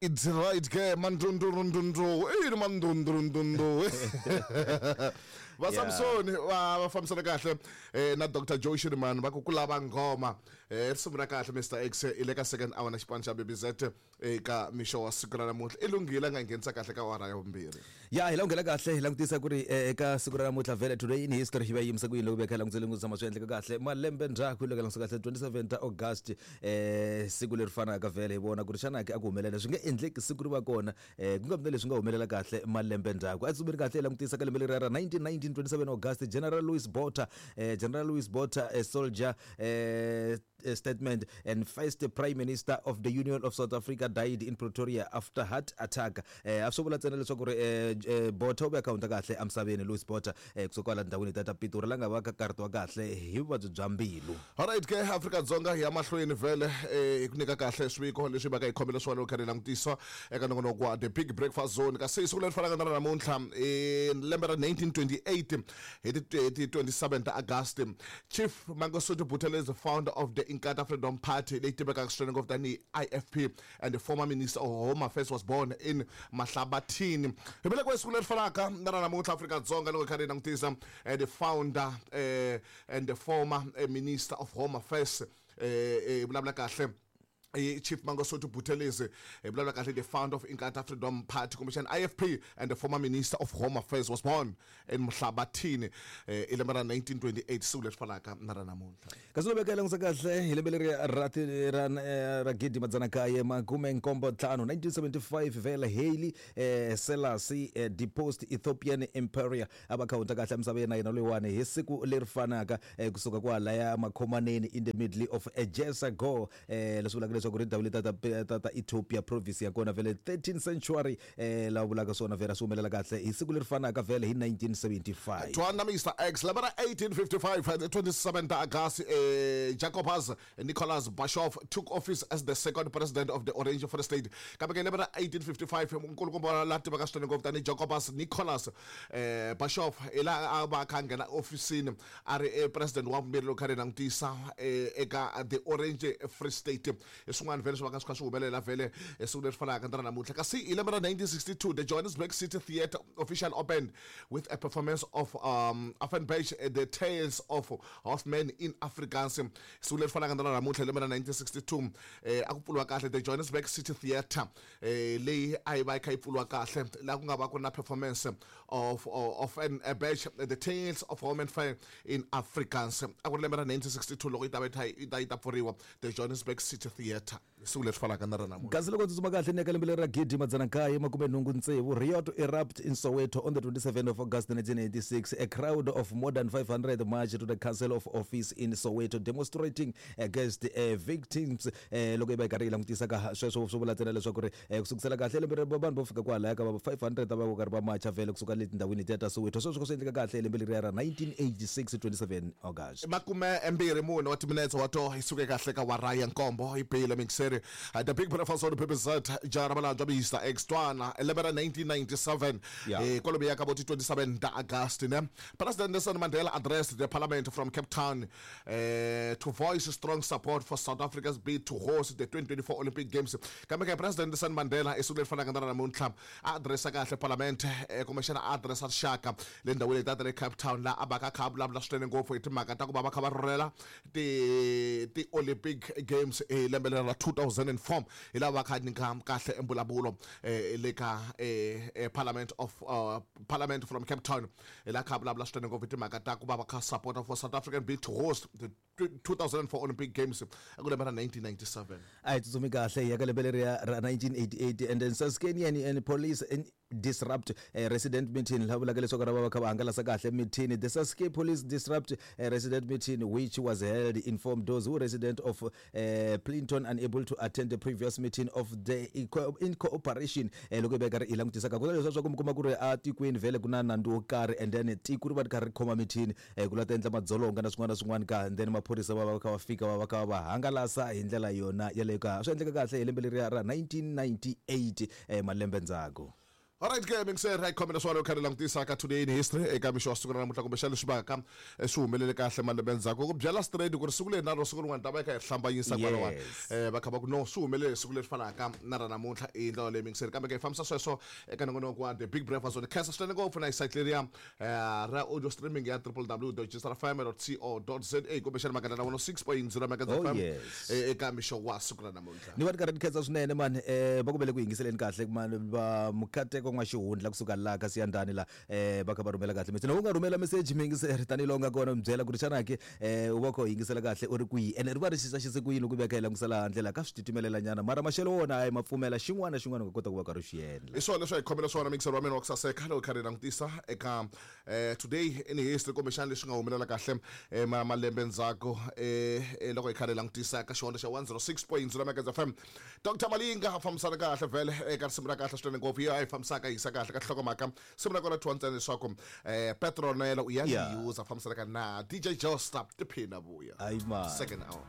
It's right ke mandundurundundu i mandundurundundu va Samsoni va va fambisana kahle eh, na Dr Joe Shirimani va ku ku lava nghoma eh, risimu ra kahle Mr X i le ka second hour na xipano xa BBZ eka mixo wa siku ra namuntlha i lunghile a nga nghenisa kahle ka awara ya vumbirhi ya hi la nghena kahle hi langutisa ku ri eh, eka siku ra namuntlha vhele today in history hi va yi yimise ku yini loko veka langutise lengutisa tshama swi endleka kahle malembe ndzhaku loko langutisa kahle 27 ta august eh siku leri fanaka vhele hi vona ku ri xana ke a ku humelela swi nge endleki siku ri va kona eh ku nga vi na leswi nga humelela kahle malembe ndzhaku a tsumeri kahle hi langutisa ka lembe leri ra 1919 27 august General Louis Botha General Louis Botha a soldier statement and first prime minister of the Union of South Africa died in Pretoria after heart attack. A swi vula ntsena leswaku ri Botha u ve akhawunta kahle emisaveni Louis Botha kusuka kwala ndhawini ta ta Pitori la nga va ka karhatiwa kahle hi vuvabyi bya mbilu. Alright ke Afrika-Dzonga hi ya mahlweni vhele hi ku nyika kahle swiviko leswi va ka hi khomele swona loko kha ri langutisa eka nongonoko wa The Big Breakfast Zone kasi siku leri fanaka na ra namuntlha i lembe ra 1928 hi ti 27 ta August Chief Mangosuthu Buthelezi founder of the Inkatha Freedom Party leyi tivekaka swinene ngopfu tanihi IFP and the former minister of Home Affairs was born in Mahlabathini hi velekiwe siku leri fanaka na ra namuntlha Afrika-Dzonga loko hi kha ri langutisa the founder and the former minister of Home Affairs hi vulavula kahle Chief Mangosuthu Buthelezi hi vulavula kahle the founder of Inkatha Freedom Party kumbexana IFP and the former minister of Home Affairs was born in Mahlabathini i lembe ra 1928 siku leri fanaka na ra namuntlha kasi loko veka langutisa kahle hi lembe leri ra ra ra gidi madzana kaye makume nkombo ntlhanu 1975 vele Haile Selassie deposed Ethiopian Emperor a va khawunta kahle misava yena yena loyiwani hi siku leri fanaka kusuka kwalaya makhomaneni in the middle of Ejesa go leswi vulaka leswaku ri ndhawu leti ta ta ta Ethiopia province ya kona vhele 13th century lava vulaka swona vhele swi humelela kahle hi siku leri fanaka vhele hi 1975 Twana Mr X lembe ra 1855 the 27 ta August Jacobus Nicholas Bashoff took office as the second president of the Orange Free State kambe ke lembe ra 1855 nkulukumba la tivaka swinene ngopfu tanihi Jacobus Nicholas Bashoff hi laha a va a kha a nghena ofisini a ri e president wa vumbirhi loko kha ri langutisa eka the Orange Free State hi swin'wana vhele swi va ka swi kha swi humelela vhele hi siku leri fanaka na ra namuntlha kasi hi lembe ra 1962 the Johannesburg City Theatre official opened with a performance of Offenbach The Tales of Hoffman in Afrikaans siku leri fanaka na ra namuntlha hi lembe ra 1962 a ku pfuriwa kahle the Johannesburg City Theatre leyi a yi va yi kha yi pfuriwa kahle laha ku nga va ku ri na performance of Offenbach The Tales of Home and Fair in Afrikaans a ku ri lembe ra 1962 loko yi ta va yi kha yi ta yi ta pfuriwa the Johannesburg City Theatre siku leri fanaka na ra namuntlha Kasi loko tsutsuma kahle ni ya ka lembe leri ra gidi madzana nkaye makume nhungu tsevu riot erupt in Soweto on the 27 of August 1986 a crowd of more than 500 marched to the council of office in Soweto demonstrating against victims loko yi va yi karhi yi langutisa ka sweswo swi vula ntsena leswaku ri ku sukusela kahle lembe ri vanhu vo fika kwalaya ka va 500 a va karhi va macha vhele kusuka le tindhawini letiya ta Soweto sweswo swi endleka kahle lembe leriya ra 1986 27 August makume mbirhi mune wa timinetse wa to yi suke kahle ka wara ya nkombo yi bile mixeri the big breakfast on PBZ jara malandzwa Mr X twana lembe ra 1997 kwalomuya ka vo ti 27 ta August ne President Nelson Mandela addressed the parliament from Cape Town to voice strong support for South Africa's bid to host the 2024 Olympic Games kambe ke President Nelson Mandela i siku leri fanaka na ra namuntlha a addressa kahle parliament kumbexana a addressa rixaka le ndhawini leti ta le Cape Town laha a va ka kha a vulavula swinene ngopfu hi timhaka ta ku va va kha va rhurhela ti ti Olympic Games hi lembe leri ra 2004 hi laha va kha nyika kahle mbulavulo le ka parliament of parliament from Cape Town hi laha kha a vulavula swinene ngopfu hi timhaka ta ku va va kha support for South African bid to host the 2004 Olympic Games ku lembe ra 1997 a hi tsutsumi kahle hi ya ka lembe leriya ra 1988 and then Saskatchewan and police disrupt a resident meeting laha vulaka leswaku ra va va kha va hangalasa kahle meeting the Saskatchewan police disrupt a resident meeting which was held informed those who resident of Clinton unable to attend the previous meeting of the in cooperation loko yi va yi karhi yi langutisa ka ku na leswiya swa ku mi kuma ku ri a tikweni vhele ku na nandzu wo karhi and then tiko ri va ri karhi ri khoma mithini ku la ta endla madzolonga na swin'wana na swin'wana ka and then maphorisa va va kha va fika va va kha va hangalasa hi ndlela yona yaleyo ka swi endleka kahle hi lembe leriya ra 1998 malembe ndzhaku. Alright ke mingiseri hi khomela swona kha ri langutisa ka today in history eka mixo wa siku ra namuntlha kumbexana leswi vaka swi humelele kahle malembe ndzhaku ku byela straight ku ri siku leri na ro siku rin'wana ta va yi kha hi hlambanyisa kwalawani. Va kha va ku no swi humelele siku leri fanaka na ra namuntlha i ndlela leyi mingiseri kambe ke hi fambisa sweswo eka nongonoko wa The Big Breakfast ni khensa swinene ngopfu na hi site leriya ra audio streaming ya www.gsrfm.co.za kumbexana magandla na 106.0 Megahertz Oh, FM yes. Eka mixo wa siku ra namuntlha. Ni va ni karhi ni khensa swinene mani, va ku vele ku yingiseleni kahle mani va Mukateko N'waxihundla kusuka laha ka Siyandhani la, va kha va rhumela kahle message. U nga rhumela message miyingiseri tanihiloko u nga kona mi byela ku ri xana ke u va u kha u yingisela kahle u ri kwihi, ene ri va ri xisa ku yini loko u veka hi langutisa laha handle laha ka swi titimelela nyana, mara maxelo wona hayi ma pfumela xin'wana na xin'wana u nga kota ku va karhi u xi endla. Hi swona leswi a hi khomela swona mixer wa mina wa ku saseka loko hi karhi hi langutisa eka today in history kumbexana leswi nga humelela kahle malembe ndzhaku loko hi karhi hi langutisa ka xihondzo xa 106.0 Megahertz FM. Dr Malinga a fambisana kahle vhele eka risimu ra kahle swinene ngopfu yo a yi fambisaka yisa kahle ka nhlokomhaka simu ra kona thyiwa ntsena leswaku Petronella u ya user fambisana ka na DJ Josta tiphina vuya. Hayi man. Second hour.